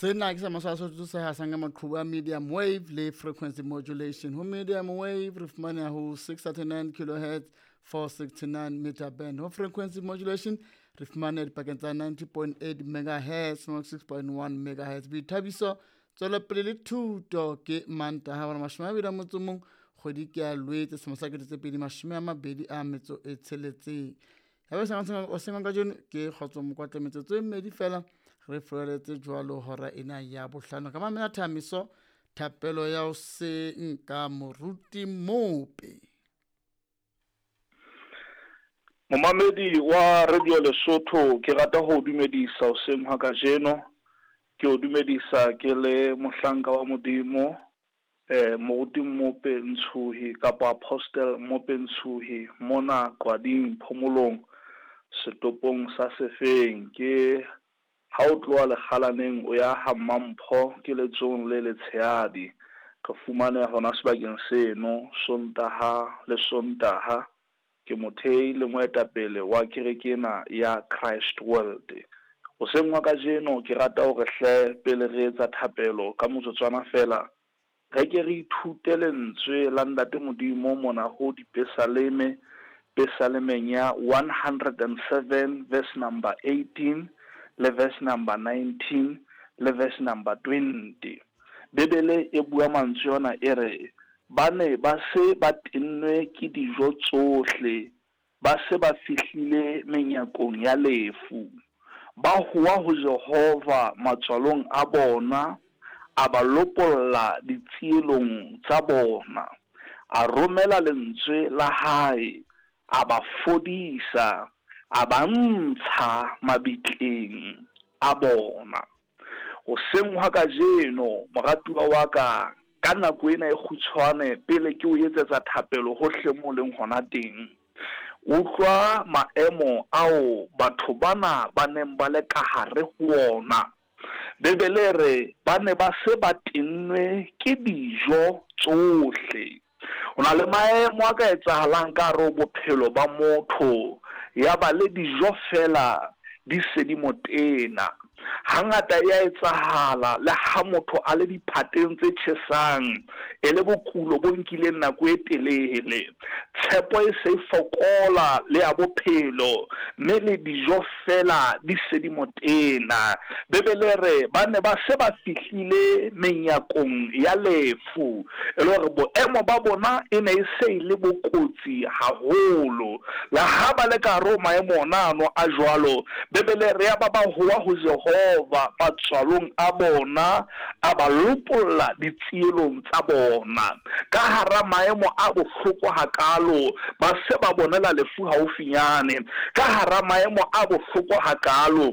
Sena ke sa maswa Sotho se hasang ka maqhubu a medium wave le frequency modulation. Ho medium wave re fumaneha ho 639 kilohertz, 469 meter band. Ho frequency modulation re fumaneha dipakeng tsa 90.8 megahertz, 6.1 megahertz. Boithabiso, tswelopele le thuto ke Mantaha hora 21 kgwedi ke ya Lwetse selemo sa 2026. Ya ba o seng kajeno ke Kgotso Mokwatla, metsotso e mmedi fela re furaletse jwalo hora ena ya bohlano. Ka mamela thamiso thapelo ya hoseng ka Moruti Mope. Momamedi wa Radio Lesotho, ke rata ho o dumedisa hoseng hwa kajeno. Ke o dumedisa ke le mohlanka wa Modimo, Moruti Mmope Ntshuhi kapa Apostle Mmope Ntshuhi mona Qwading Phomolong setopong sa Sefeng. Ke ha o tloha Lekgalaneng o ya ha Mmampho ke letsohong le letshehadi. Re fumaneha hona sebakeng seno Sontaha le Sontaha. Ke mothehi le moetapele wa kereke ena ya Christ World. Hoseng hwa kajeno ke rata hore hle pele re etsa thapelo ka motsotswana feela, re ke re ithute lentswe la Ntate Modimo mona ho Dipesaleme, Pesalemeng ya 107 verse number 18 le verse number 19 le verse number 20. Bibele e bua mantswe ona e re, Ba ne ba se ba tennwe ke dijo tsohle, ba se ba fihlile menyakong ya lefu. Ba howa ho Jehova matswalong a bona, a ba lopolla ditsielong tsa bona. A romela lentswe la hae, a ba fodisa, a ba ntsha mabitleng a bona. Hoseng hwa kajeno, moratuwa wa ka, ka nako ena e kgutshwane pele ke o etsetsa thapelo hohle moo o leng hona teng, utlwa maemo ao batho bana ba neng ba le kahare ho wona. Bibele e re ba ne ba se ba tennwe ke dijo tsohle. Ho na le maemo a ka etsahalang ka hare ho bophelo ba motho, ya ba le dijo feela di se di mo tena. Hangata e a etsahala le ha motho a le diphateng tse tjhesang, e le bokulo bo nkileng nako e telele. Tshepo e se e fokola le ya bophelo, mme le dijo feela di se di mo tena. Bibele e re ba ne ba se ba fihlile menyakong ya lefu. E le hore boemo ba bona e ne e se e le bo kotsi haholo. Le ha ba le ka hare ho maemo ona ano a jwalo, Bibele e re yaba ba howa ho Jehova matswalong a bona, a ba lopolla ditsielong tsa bona. Ka hara maemo a bohloko hakaalo, ba se ba bonela lefu haufinyane. Ka hara maemo a bohloko hakaalo,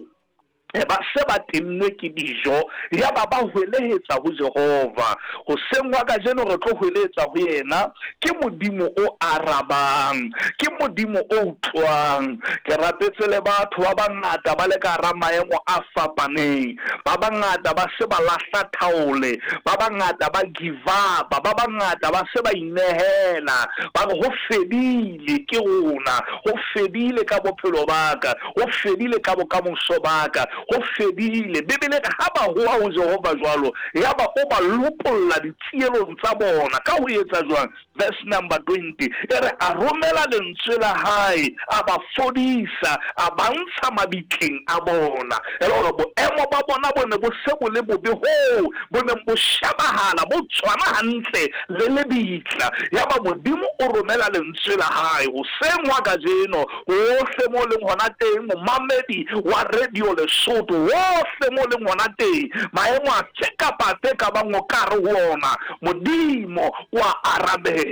ba se ba tennwe ke dijo, yaba ba hwelehetsa ho Jehova. Hoseng hwa kajeno re tlo hwelehetsa ho yena. Ke Modimo o arabang, ke Modimo o utlwang. Ke rapetse le batho ba bangata ba le ka hara maemo a fapaneng. Ba bangata ba se ba lahla thaole, ba bangata ba give up, ba bangata ba se ba inehela, ba re ho fedile ke rona, ho fedile ka bophelo ba ka. Ho fedile ka bokamoso ba ka, ho fedile. Bibele e re ha ba howa ho Jehova jwalo, yaba o ba lopolla ditsielong tsa bona. Ka ho etsa jwang? Verse number 20 e re a romela lentswe la hae, a ba fodisa, a ba ntsha mabitleng a bona. E le hore boemo ba bona bo ne bo se bo le bobe hoo bo neng bo shebahala bo tshwana hantle le lebitla. Yaba Modimo o romela lentswe la hae. Hoseng hwa kajeno, Hohle mo leng hona teng, momamedi wa Radio Lesotho, hohle mo leng hona teng, maemo afe kapa afe ka bang o ka re ho ona, Modimo o a arabela.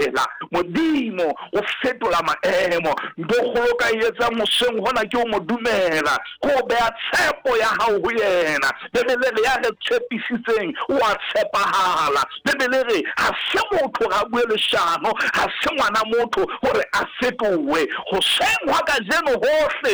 Modimo o fetola maemo. Ntho e kgolo o ka e etsang hoseng hona ke ho mo dumela, ke ho beha tshepo ya hao ho yena. Bibele e re ya re tshepisitseng o a tshepahala. Bibele e re ha se motho hore a bue leshano, ha se ngwana motho hore a fetohe. Hoseng hwa kajeno hohle